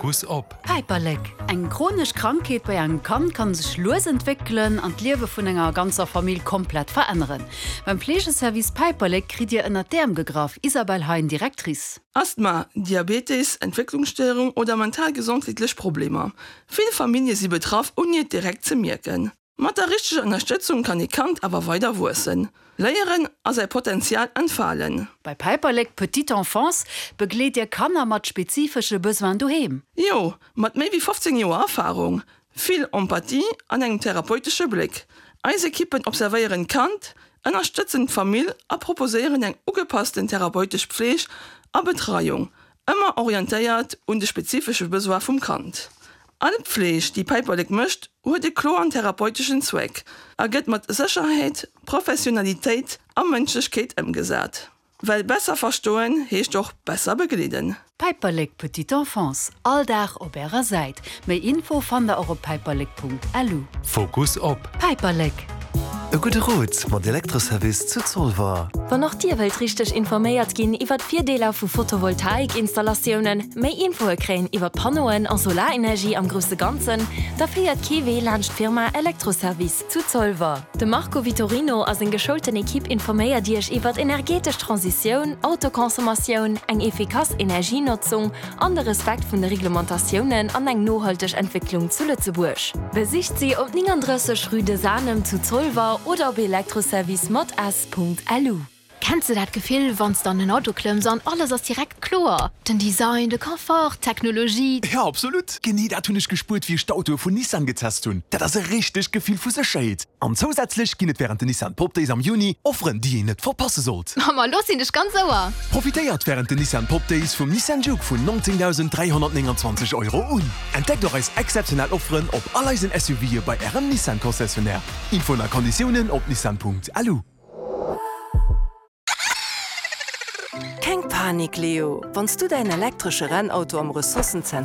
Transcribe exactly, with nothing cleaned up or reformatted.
Fokus op. Päiperlek, Eng chronesch Krankheet bei engem Kand kann sech lues entwéckelen an d'Liewe vun enger ganzer Famill komplett veränneren. Beim Fleegeservice Päiperlek kritt Dir ënnert d'Äerm gegraff, Isabelle Hein, Directrice. Asthma, Diabetes, Entwécklungsstéierung oder mental-gesondheetlech Problemer. Vill Famillje si betraff ouni et direkt ze mierken. Mat der richteger Ënnerstëtzung kann e Kand awer weider wuessen, léieren a säi Potenzial entfalen. Bei Päiperlek Petite Enfance begleet Dir Kanner mat spezifesche Besoinen doheem. Jo, mat méi wéi fofzéng Joer Erfarung, vill Empathie an engem therapeutesche Bléck. Eis Ekippen observéieren d'Kand, ënnerstëtzen d'Famill a proposéieren eng ugepassten therapeutesch Pfleeg a Betreiung, ëmmer orientéiert un de spezifesche Besoine vum Kand. All Pfleeg, déi Päiperlek mécht, huet e kloren therapeuteschen Zweck a gëtt mat Sécherheet, Professionalitéit a Mënschlechkeet ëmgesat. Well besser verstoen heescht och besser begleeden. Päiperlek Petite Enfance, all Dag op Ärer Säit. Méi Info fannt der och op päiperlek.lu. Fokus op. Päiperlek. E gudde Rot mat Elektroservice zu Zolwer. Wann och Dir wëllt richteg informéiert ginn iwwer d'Virdeeler vu Photovoltaikinstallatiounen, méi Infoe kréien iwwer Panneauen a Solarenergie am grousse Ganzen, da féiert kee Wee laanscht d'Firma Elektroservice zu Zolwer. De Marco Vitorino a seng geschoulten Ekipp informéiert Iech iwwer energetesch Transitioun, Autoconsommatioun, eng efficace Energienotzung an de Respekt vun de Reglementatiounen an eng nohalteg Entwécklung zu Lëtzebuerg. Besicht si op néngandrësseg Rue de Sanem zu Zolwer oder op elektroservice mat s.lu. Kenns de dat Gefill, wann s de an en Auto klëmms an alles ass direkt kloer? Den Design, de Confort, d'Technologie. Jo, absolut! Genee dat hunn ech gespuert, wéi ech d'Autoe vun Nissan getest hunn. Dat ass e richtegt Gefill vu Sécherheet. An zousätzlech ginn et wärend den Nissan Pop Days am Juni Offeren, déi een net verpasse sollt. Ma lo sinn ech ganz Ouer! Profitéiert wärend den Nissan Pop Days vum Nissan Juke vun neunzéngdausend dräihonnertnénganzwanzeg Euro un. Entdeckt och eis exzeptionell Offeren op all eisen S U Ve bei ärem Nissan Concessionnaire. Infoen a Konditiounen op nissan Punkt L U. Keng Panik, Leo! Wann s du däin elektresche Rennauto am Ressourcenzenter